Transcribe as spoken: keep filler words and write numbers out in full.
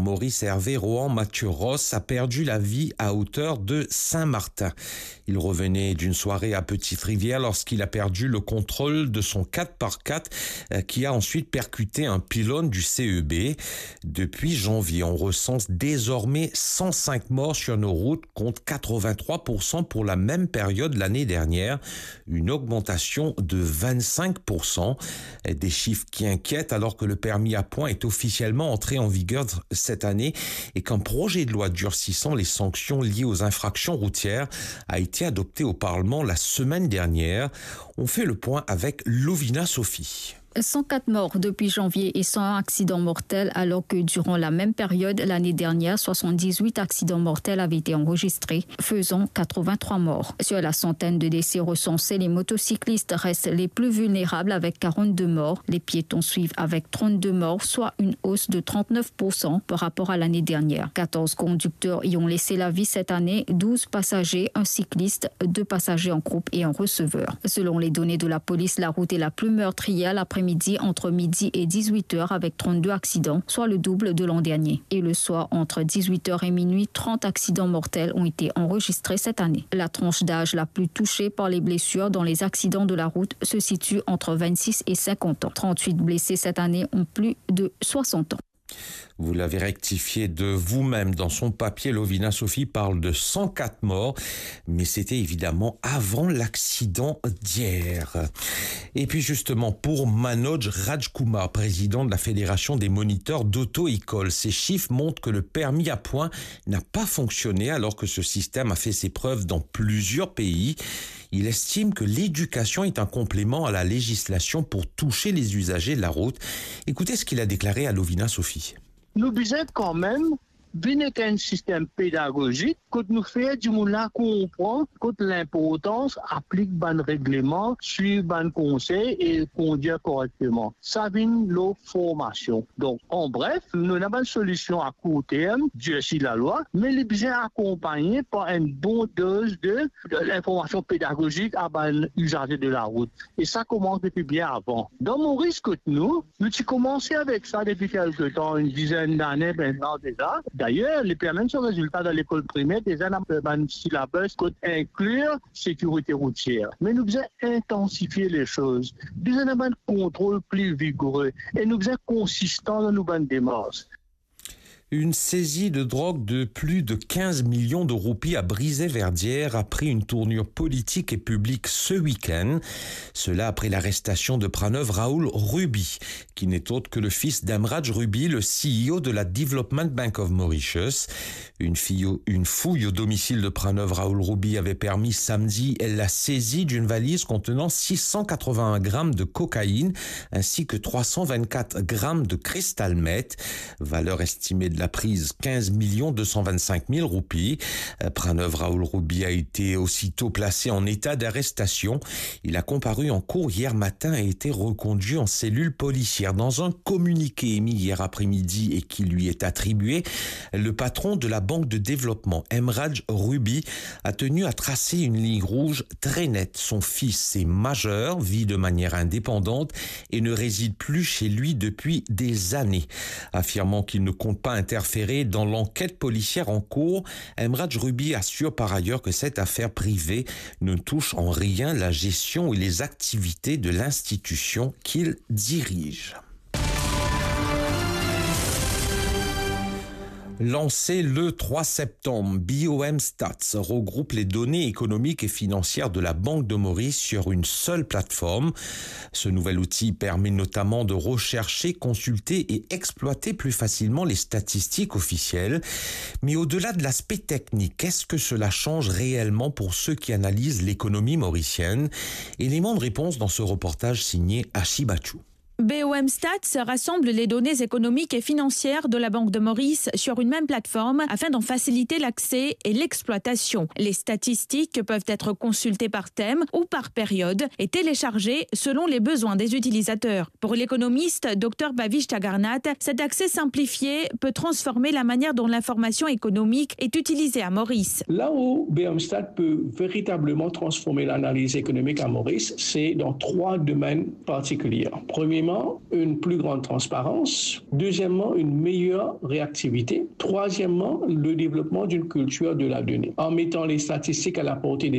Maurice Hervé Rohan Mathieu Ross a perdu la vie à hauteur de Saint-Martin. Il revenait d'une soirée à Petite-Rivière lorsqu'il a perdu le contrôle de son quatre par quatre, euh, qui a ensuite percuté un pylône du C E B. Depuis janvier, on recense désormais cent cinq morts sur nos routes, contre quatre-vingt-trois pour cent pour la même période l'année dernière, une augmentation de vingt-cinq pour cent. Des chiffres qui inquiètent alors que le permis à points est officiellement entré en vigueur cette année et qu'un projet de loi durcissant les sanctions liées aux infractions routières a été adopté au Parlement la semaine dernière. On fait le point avec Lovina Sophie. Cent quatre morts depuis janvier et cent un accidents mortels, alors que durant la même période l'année dernière, soixante-dix-huit accidents mortels avaient été enregistrés, faisant quatre-vingt-trois morts. Sur la centaine de décès recensés, les motocyclistes restent les plus vulnérables avec quarante-deux morts. Les piétons suivent avec trente-deux morts, soit une hausse de trente-neuf pour cent par rapport à l'année dernière. Quatorze conducteurs y ont laissé la vie cette année, douze passagers, un cycliste, deux passagers en groupe et un receveur. Selon les données de la police, la route est la plus meurtrière l'après-midi entre midi et dix-huit heures avec trente-deux accidents, soit le double de l'an dernier. Et le soir, entre dix-huit heures et minuit, trente accidents mortels ont été enregistrés cette année. La tranche d'âge la plus touchée par les blessures dans les accidents de la route se situe entre vingt-six et cinquante ans. Trente-huit blessés cette année ont plus de soixante ans. Vous l'avez rectifié de vous-même dans son papier, Lovina Sophie parle de cent quatre morts, mais c'était évidemment avant l'accident d'hier. Et puis justement, pour Manoj Rajkumar, président de la Fédération des moniteurs d'auto-école, ces chiffres montrent que le permis à points n'a pas fonctionné alors que ce système a fait ses preuves dans plusieurs pays. Il estime que l'éducation est un complément à la législation pour toucher les usagers de la route. Écoutez ce qu'il a déclaré à Lovina Sophie. Nou bizin kanmem vinn ek enn sistem pedagozik kot nou fer dimoun la konpran kot linportans aplik bann regleman, swiv bann konsey e kondir korekteman. Sa vinn lor formasion. Donk, an bref, nou ena bann solision a kour term, dirsi lalwa, me li bizin akonpagne par enn bon doz de, de linformasion pedagozik a bann izaze de larout. E sa koumans depi bien avan. Dan Moris kot nou, nou ti koumanse avek sa depi kelke tan, enn dizenn dane aster deza. Dayer, li pe amenn so rezilta dan lekol primer, deza ena bann silabes kot inklir sekirite routier. Me nou bizin intansifie lesoz. Bizin ena bann kontrol pli vigore e nou bizin konsistan dan nou bann demars. Une saisie de drogue de plus de quinze millions de roupies à Brisay-Verdières a pris une tournure politique et publique ce week-end. Cela après l'arrestation de Pranav Rahul Ruby, qui n'est autre que le fils d'Emraj Ruby, le C E O de la Development Bank of Mauritius. Une fille au- une fouille au domicile de Pranav Rahul Ruby avait permis samedi la saisie d'une valise contenant six cent quatre-vingt-un grammes de cocaïne ainsi que trois cent vingt-quatre grammes de cristal meth. Valeur estimée de la prise, quinze millions deux cent vingt-cinq mille roupies. Euh, Pranav Rahul Ruby a été aussitôt placé en état d'arrestation. Il a comparu en cour hier matin et a été reconduit en cellule policière. Dans un communiqué émis hier après-midi et qui lui est attribué, le patron de la Banque de développement, Emraj Ruby, a tenu à tracer une ligne rouge très nette. Son fils est majeur, vit de manière indépendante et ne réside plus chez lui depuis des années. Affirmant qu'il ne compte pas interférer dans l'enquête policière en cours, Emraj Ruby assure par ailleurs que cette affaire privée ne touche en rien la gestion et les activités de l'institution qu'il dirige. Lancé le trois septembre, B O M Stats regroupe les données économiques et financières de la Banque de Maurice sur une seule plateforme. Ce nouvel outil permet notamment de rechercher, consulter et exploiter plus facilement les statistiques officielles. Mais au-delà de l'aspect technique, qu'est-ce que cela change réellement pour ceux qui analysent l'économie mauricienne ? Élément de réponse dans ce reportage signé Ashi Bachou. B O M Stats rassemble les données économiques et financières de la Banque de Maurice sur une même plateforme afin d'en faciliter l'accès et l'exploitation. Les statistiques peuvent être consultées par thème ou par période et téléchargées selon les besoins des utilisateurs. Pour l'économiste Dr Bhavish Tagarnath, cet accès simplifié peut transformer la manière dont l'information économique est utilisée à Maurice. Là où B M Stat peut véritablement transformer l'analyse économique à Maurice, c'est dans trois domaines particuliers. Premier Une plus grande transparence. Deuxièmement, une meilleure réactivité. Troisièmement, le développement d'une culture de la donnée, en mettant les statistiques à la portée des